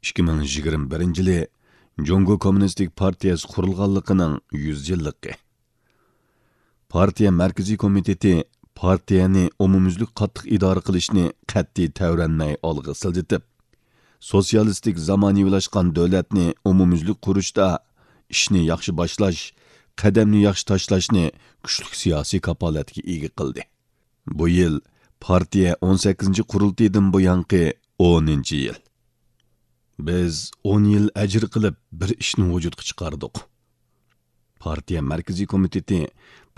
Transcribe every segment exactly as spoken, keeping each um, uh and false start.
ئىككى مىڭ يىگىرمە بىرىنچى يىلى جۇڭگو كوممۇنىستىك پارتىيەسى قۇرۇلغانلىقىنىڭ يۈز يىللىقى. پارتىيە مەركىزىي كومىتېتى پارتىيەنى ئومۇميۈزلۈك قاتتىق ئىدارە قىلىشنى قەتئىي تەۋرەنمەي ئالغا سىلجىتىپ، سوتسىيالىستىك زامانىۋىلاشقان دۆلەتنى ئومۇميۈزلۈك قۇرۇشتا ئىشنى ياخشى باشلاش، قەدەمنى ياخشى تاشلاشنى كۈچلۈك سىياسىي كاپالەتكە ئىگە قىلدى. بۇ يىل پارتىيە ئون سەككىزىنچى قۇرۇلتىيىدىن بۇيانقى ئونىنچى يىل. بىز ئون يىل ئەجىر قىلىپ بىر ئىشنى ۋۇجۇدقا چىقاردۇق. پارتىيە مەركىزىي كومىتېتى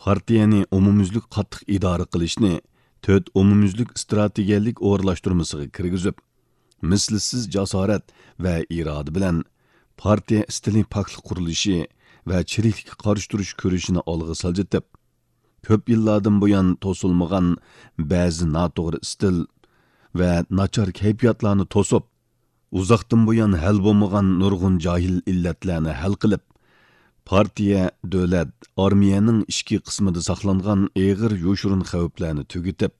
پارتىيەنى ئومۇميۈزلۈك قاتتىق ئىدارە قىلىشنى تۆت ئومۇميۈزلۈك ئىستراتېگىيەلىك ئورۇنلاشتۇرمىسىغا كىرگۈزۈپ، مىسلىسىز جاسارەت ۋە ئىرادە بىلەن پارتىيە ئىستىلى پاكلىق قۇرۇلۇشى ۋە چىرىكلىككە قارشى تۇرۇش كۈرىشىنى ئالغا سىلجىتىپ، كۆپ يىللاردىن بۇيان توسۇلمىغان بەزى ناتوغرا ئىستىل ۋە ناچار كەيپىياتلارنى توسۇپ، ئۇزاقتىن بۇيان ھەل بولمىغان نۇرغۇن جاھىل ئىللەتلەرنى ھەل قىلىپ، پارتىيە، دۆلەت، ئارمىيەنىڭ ئىچكى قىسمىدا ساقلانغان ئېغىر يوشۇرۇن خەۋپلەرنى تۈگىتىپ،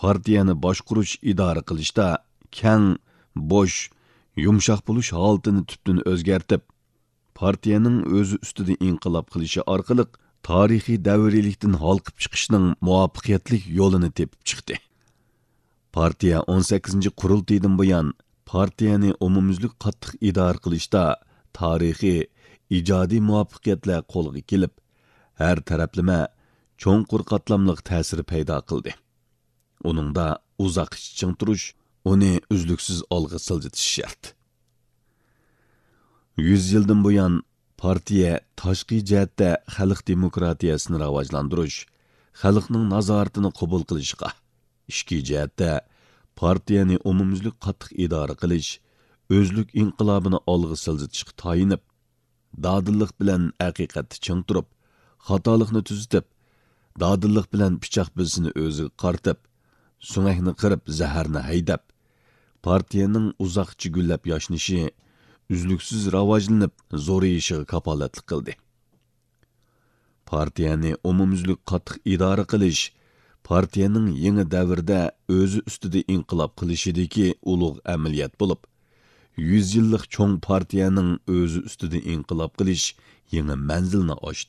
پارتىيەنى باشقۇرۇش، ئىدارە قىلىشتا كەڭ، بوش، يۇمشاق بولۇش ھالىتىنى تۈپتىن ئۆزگەرتىپ، پارتىيەنىڭ ئۆزى ئۈستىدە ئىنقىلاب قىلىشى ئارقىلىق تارىخىي دەۋرىيلىكتىن ھالقىپ چىقىشنىڭ مۇۋەپپەقىيەتلىك يولىنى تېپىپ چىقتى. پارتىيە ئون سەككىزىنچى قۇرۇلتىيىدىن بۇيان پارتىيەنى ئومۇميۈزلۈك قاتتىق ئىدارە قىلىشتا تارىخىي، ئىجادىي مۇۋەپپەقىيەتلەر قولغا كېلىپ، ھەر تەرەپلىمە چوڭقۇر قاتلاملىق تەسىر پەيدا قىلدى. ئۇنىڭدا ئۇزاققىچە چىڭ تۇرۇش، ئۇنى ئۈزلۈكسىز ئالغا سىلجىتىش شەرت. يۈز يىلدىن بۇيان پارتىيە تاشقى جەھەتتە خەلق دېموكراتىيەسىنى راۋاجلاندۇرۇش، خەلقنىڭ نازارىتىنى قوبۇل قىلىشقا، ئىچكى جەھەتتە پارتىيەنى ئومۇميۈزلۈك قاتتىق ئىدارە قىلىش، ئۆزلۈك ئىنقىلابىنى ئالغا سىلجىتىشقا تايىنىپ، دادىللىق بىلەن ھەقىقەتتە چىڭ تۇرۇپ، خاتالىقنى تۈزىتىپ، دادىللىق بىلەن پىچاق بىلىسىنى ئۆزىگە قارىتىپ، سۆڭەكنى قىرىپ، زەھەرنى ھەيدەپ، پارتىيەنىڭ ئۇزاققىچە گۈللەپ ياشنىشى، ئۈزلۈكسىز راۋاجلىنىپ زورىيىشىغا كاپالەتلىك قىلدى. پارتىيەنى ئومۇميۈزلۈك قاتتىق ئىدارە قىلىش پارتىيەنىڭ يېڭى دەۋردە ئۆزى ئۈستىدە ئىنقىلاب قىلىشىدىكى ئۇلۇغ ئەمەلىيەت بولۇپ، يۈز يىللىق چوڭ پارتىيەنىڭ ئۆزى ئۈستىدە ئىنقىلاب قىلىش يېڭى مەنزىلنى ئاچتى.